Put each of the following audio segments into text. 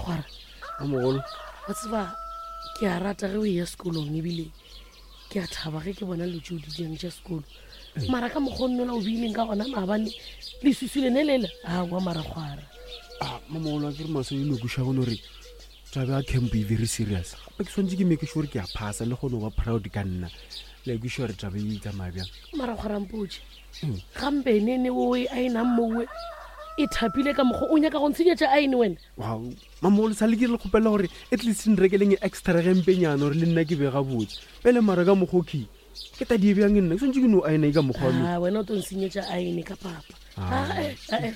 Kgwara. Mamogolo. Wa tseba ke a rata ge o eya sekolong ebile ke a thaba ge ke bona dilo tšeo di diang tša sekolo. Mara ka mokgwa o nnola o beileng ka gona maabane leswiswi lene lela aowa mara kgwara. A mamogolo a ke re maso e no kweša gone gore taba ya camp e very serious. Gape ke swanetše ke make sure ke a phasa le kgone go ba proud ka nna. Le kweša gore taba e tsamaya bjang. Mara kgwara mpotše. Gampe nene oe a e nang mowe e thapile ka mokgwa o nyaka go ntshenyetša aene wena. Wow, mamogolo sa le ke le kgopela gore at least nrekeleng e extra gempenyana gore le nna ke be gabotse. Pele mara ka mokgwa okay. Ke tadi e bjang nna ke swanetše ke no aena e ka mokgwa wa Ah, wena o tlo nsenyetša aene ka papa. Ah, eh, ah, eh.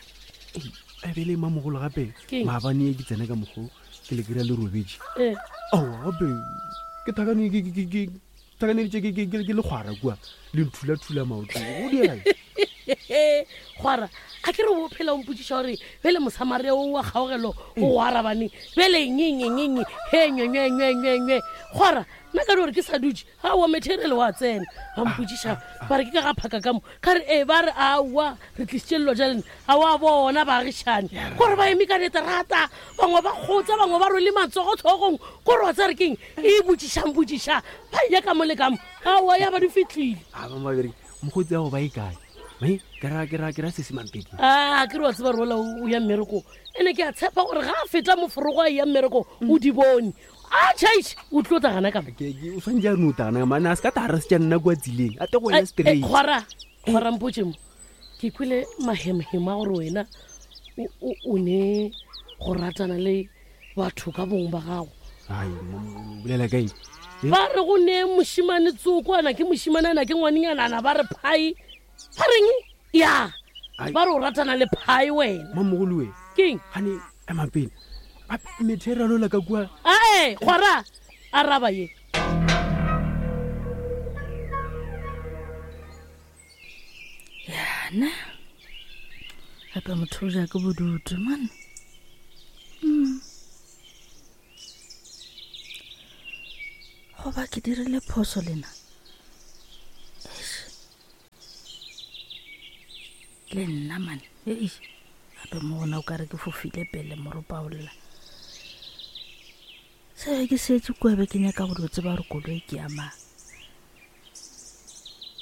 Ebele mamogolo gape Keng? maabane e ke tsena ka mokgwa ke le kry-a le robetše. Eh. Aowa gape ke thakane ke thakaneditše ke le kgwara kua le nthula-thula maoto go dira Kgwara a ke re o phela o mpotsiša gore bele mosamaria o wa kgaogelo o go arabaneng bele nyenyenyenye he nyenyenyenyenye kgwara nna ka di gore ke sa dutše aowa material wa tsena ba mpotsiša ba re ke ka ga phaka ka mo ka re ee ba re aowa re tlisitše lelo ja lena a wa bona baagišane kore ba eme ka leterata bangwe ba kgotsa bangwe ba rwele matsogo tlhogong kore wa tsare keng e botšišang botšiša ba ya ka mo le ka mo aowa ya ba di fitlhile. A ba mabereki mokgotsi ya go ba e kae me ke ra ke ra ke ra sese mampedi. A ke re wa tseba rola o ya mmereko ene ke a tshepa gore ga a feta moforogo a ya mmereko o di bone a chaiše o tlo tagana ka mo. O tshwanetse a re no tagana mane a se ka tara se tša nna kwa tseleng a te go wena straight. Kgwara kgwara mpotse mo ke kwele mahemhema gore wena o ne go ratana le batho ka bong ba gago. Ai bolela kae? Ba re go ne mošimane tsoko ana ke mošimane ana ke ngwanenyana ana ba re phai ba reng ya ba re o ratana le phai wena. Mamogolo we keng gane ema pele material ola ka kua. Ae kgwara araba ye. Yana gape motho o ja ke bodutu man. Goba ke dirile phoso lena le nna man. Ei gape mo gona o ka re ke fofile pele moropa o lla. Se ke setse kua be ke nyaka go dio tseba gore koloi ke ya mang.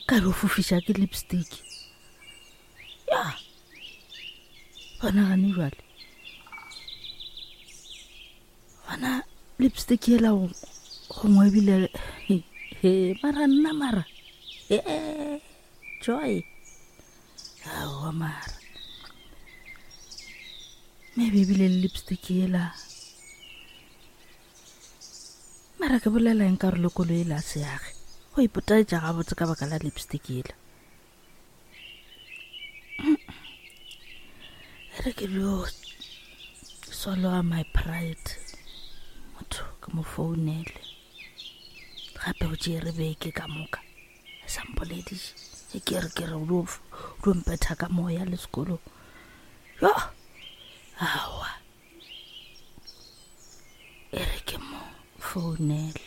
Ka be o fofiša ke lipstick. Ya bona gane jwale gona lipstick ela gongwe ebile he mara nna mara ee joy aowa mara maybe ebile le lipstick ela mara ke bolela eng ka gore le koloi ela a seage go ipotaetša gabotse ka baka la lipstick ela. Re ke bjo swallow my pride motho ke mo founele gape o tšere beke ka moka e sa mpolediše e ke re ke re o dio mpetha ka moya le sekolong yo aowa e re ke mo founele.